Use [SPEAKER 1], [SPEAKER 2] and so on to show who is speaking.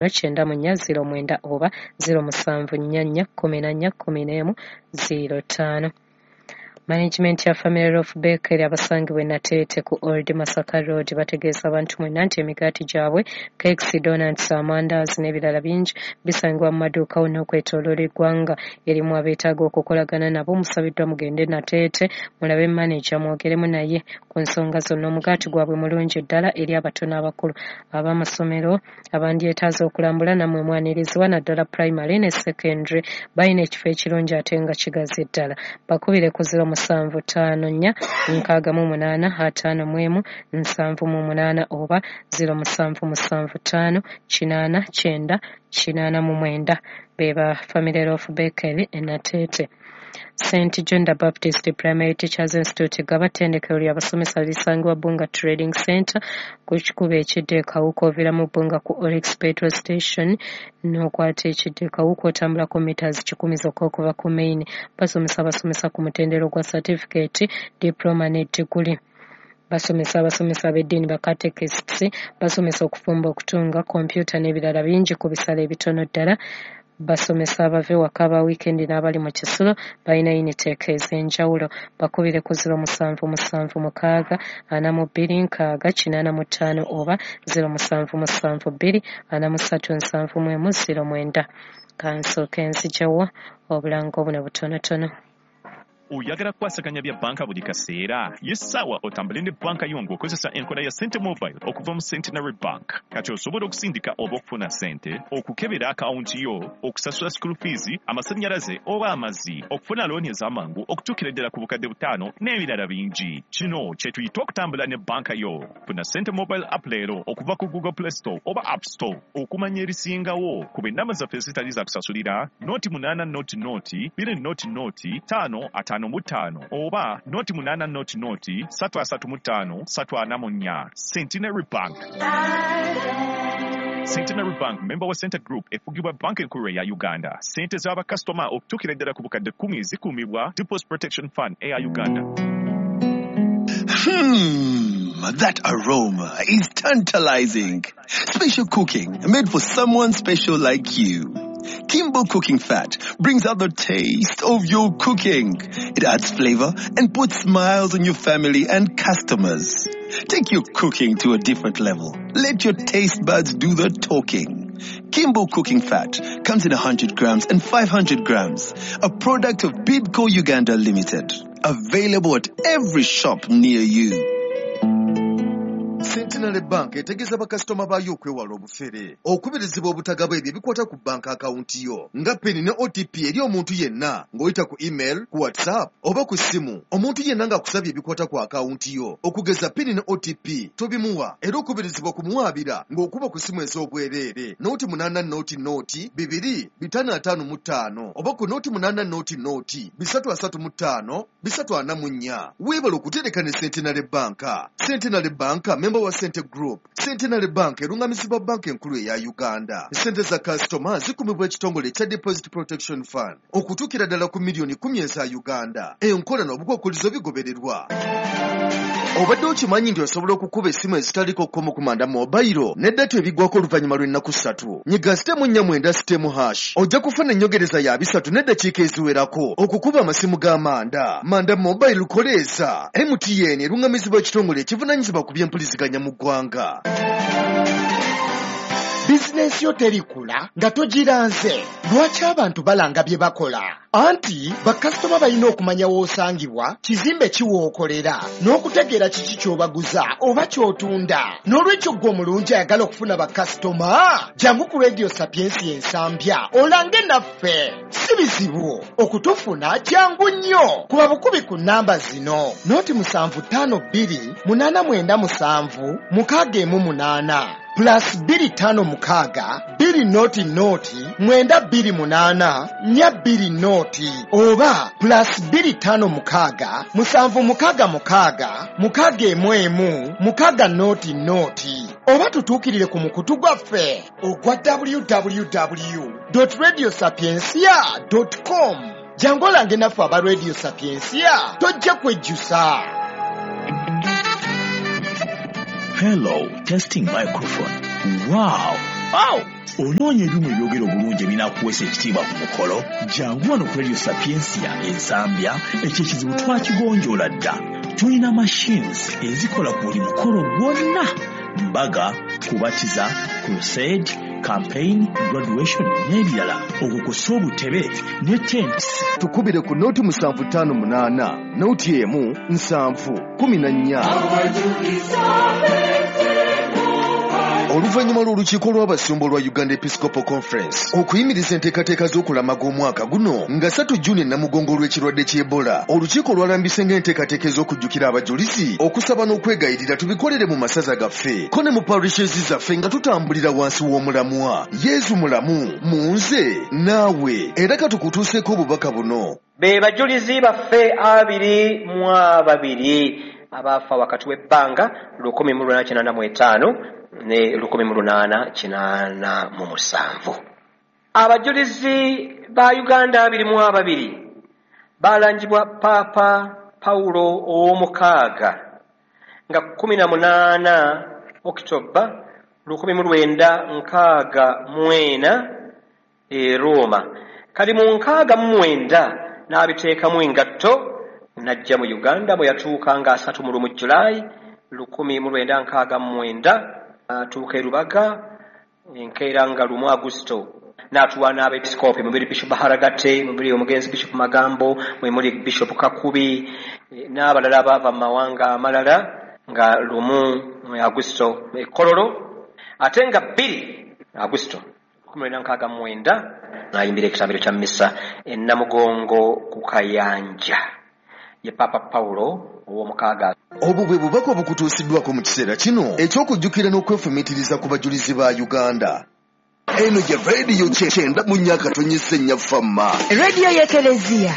[SPEAKER 1] 94 09 oba 0744 14 11 05. Management ya Family Loaf Bakery abasangibwa e Nateete ku Old Masaka Road bategeeza abantu mwenna nti emigaati gyabwe, cakes, donuts, amandaazi n'ebirala bingi bisangibwa mu maduuka wonna okwetooloola eggwanga. Erimu abeetaaga okukolagana nabo musabiddwa mugende Nateete mulabe maneja mwogeremu naye ku nsonga zonna. Omugaati gwabwe mulungi ddala eri abato n'abakulu. Ab'amasomero abandyetaaze okulambula nammwe mwanirizibwa naddala pulayimale ne secondary. Balina ekifo ekirungi ate nga kigazi ddala. Bakubire ku 0754 68 51 78 oba 0775 80 90 89 be ba Family Loaf Bakery e Nateete. St John the Baptist Primary Teachers Institute Gaba ttendekero ly'abasomesa lisangibwa Bunga Trading Center ku kikubo ekidda e Kawuka oviiramu Bunga ku Oryx Petrol Station n'okwata ekidda e Kawuka otambulako meters 100 zokka okuva ku main. Basomesa abasomesa ku mutendera ogwa certificate, diploma ne diguli. Basomesa abasomesa ab'eddiini ba catechists, basomesa okufumba, okutunga, kompyuta n'ebirala bingi ku bisale ebitono ddala. Basomesa abava ewaka aba wiikendi n'abali mu kisulo balina intake ez'enjawulo. Bakubire ku 0776 42 60 85 oba 0772 43 71 09. Kansooke nziggyewo obulango buno butonotono.
[SPEAKER 2] Oyagala kukwasaganya bya banka buli kaseera? Ye ssaawa otambule ne banka yo ng'okozesa enkola ya Sente Mobile okuva mu Centenary Bank. Kati osobola okusindika oba okufuna ssente, okukebera akawunti yo, okusasula school fees, amasannyalaze oba amazzi, okufuna looni ez'amangu okutuukira ddala ku 5,000 n'ebirala bingi. Kino kye tuyita okutambula ne banka yo. Funa Sente Mobile app leero okuva ku Google Play Store oba App Store. Okumanya ebisingawo kuba ennamba zaffe ezitali za kusasulira 0 8 0 0 2 0 0 5 55 oba 0 8 0 0 3 35 344. Centenary Bank. Centenary Bank member wa Sente Group efugibwa banka enkulu eya Uganda. Ssente z'abakasitoma okutuukira ddala ku 10,000 zikuumibwa Deposit Protection Fund eya Uganda.
[SPEAKER 3] That aroma is tantalizing. Special cooking made for someone special like you. Kimbo Cooking Fat brings out the taste of your cooking. It adds flavor and puts smiles on your family and customers. Take your cooking to a different level. Let your taste buds do the talking. Kimbo Cooking Fat comes in 100 grams and 500 grams. A product of Bidco Uganda Limited. Available at every shop near you.
[SPEAKER 4] Centenary Bank etegeeza bakasitoma baayo okwewala obufere. Okubirizibwa obutagaba ebyo ebikwata ku banka akawunti yo nga PIN ne OTP eri omuntu yenna ng'oyita ku email, ku WhatsApp oba ku ssimu. Omuntu yenna ng'akusabye ebikwata ku akawunti yo okugeza PIN ne OTP tobimuwa, era okubirizibwa kumuwaabira ng'okuba ku ssimu ez'obwereere 080 0 2 555 oba ku 080 0 335 344. Weebale okutereka ne Centenary Bank. Centenary Bank memba wa Sente Group. Centenary Bank erungamizibwa banka enkulu eya Uganda. Sente za kasitoma zikumibwa ekitongole ekya Deposit Protection Fund okutuukira ddala ku miliyoni 10 eza Uganda. Enkola n'obukwakkulizo bigobererwa. Obadde okimanyi nti osobola okukuba essimu ezitaliko kkomo ku Manda Mobile ne data ebiggwako oluvannyuma lw'ennaku 3? Nyiga *49 *# ojja kufuna ennyongereza ya 30 n'eddakiika eziwerako okukuba amasimu ga Manda. Manda Mobile koleeza MTN erungamizibwa ekitongole ekivunaanyizibwa ku byempuliziganya mu ggwanga.
[SPEAKER 5] Bizinensi yo terikula nga togiranze. Lwaki abantu balanga bye bakola? Anti bakasitoma balina okumanya w'osangibwa, kizimbe kiwookolera, n'okutegeera kiki ky'obaguza oba ky'otunda. N'olwekyo ggwe omulungi ayagala okufuna bakasitoma, jangu ku Radio Sapiensia Ensambya olange naffe. Si bizibu okutufuna, kyangu nnyo. Kuba bukubi ku nnamba zino: 0752 897 618, +256 2 0 0 928 420 oba +256 766 611 6 0 0, oba tutuukirire ku mukutu gwaffe ogwa www radio sapiencia com. Jangu olange naffe aba Radio Sapiencia, tojja kwejjusa.
[SPEAKER 6] Hello, testing microphone. Wow! Aw! Onoonya ebyuma ebyogera obulungi ebinaakuweesa ekitiibwa ku mukolo? Jangu wano ku Radio Sapientia e Nsambya, ekyo ekizibu twakigonjoola dda. Tulina machines ezikola ku buli mukolo gwonna: mbaga, kubatiza, crusade, campaign, graduation n'ebirala, okwo kw'ossa obutebe ne tents.
[SPEAKER 4] Tukubire ku 0758 01 7 14. Oluvannyuma lw'olukiiko lw'abasumba olwa Uganda Episcopal Conference okuyimiriza enteekateeka z'okulamaga omwaka guno nga 3 Juni Namugongo olw'ekirwadde ky'Ebola, olukiiko lwalambise ng'enteekateeka ez'okujjukira abajulizi, okusaba n'okwegayirira tubikolere mu masaza gaffe ko ne mu parishes zaffe nga tutambulira wansi w'omulamwa Yezu mulamu mu nze naawe. Era katukutuuseeko obubaka buno.
[SPEAKER 7] Be bajulizi baffe 22 abaafa wakati w'ebbanga 1885 ne 1887. Abajulizi ba Uganda 22 balangibwa Paapa Pawulo ow'omukaaga nga 18 Okitoba 1964 e Roma. Kali mu 69 n'abiteekamu engatto n'ajja mu Uganda bwe yatuuka nga 31 Julayi 1969, atuuka e Rubaga enkeera nga 1 Agusto n'atuwa n'abepisikoopi mubiri Bishop Haragate, mubiri omugenzi Bishop Magambo, mwe muli Bishop Kakubi n'abalala abaava mu mawanga amalala nga 1 Agusto e Kololo, ate nga 2 Agusto 1969 n'ayimbira ekitambiro kya missa e Namugongo ku Kayanja. Ye Papa Pawulo ow'omukaaga.
[SPEAKER 4] Obwo bwe bubaka obukutuusiddwako mu kiseera kino eky'okujjukira n'okwefumiitiriza ku bajulizi ba Uganda. Eno ye rediyo 94.4 Fama,
[SPEAKER 8] rediyo y'Ekereziya.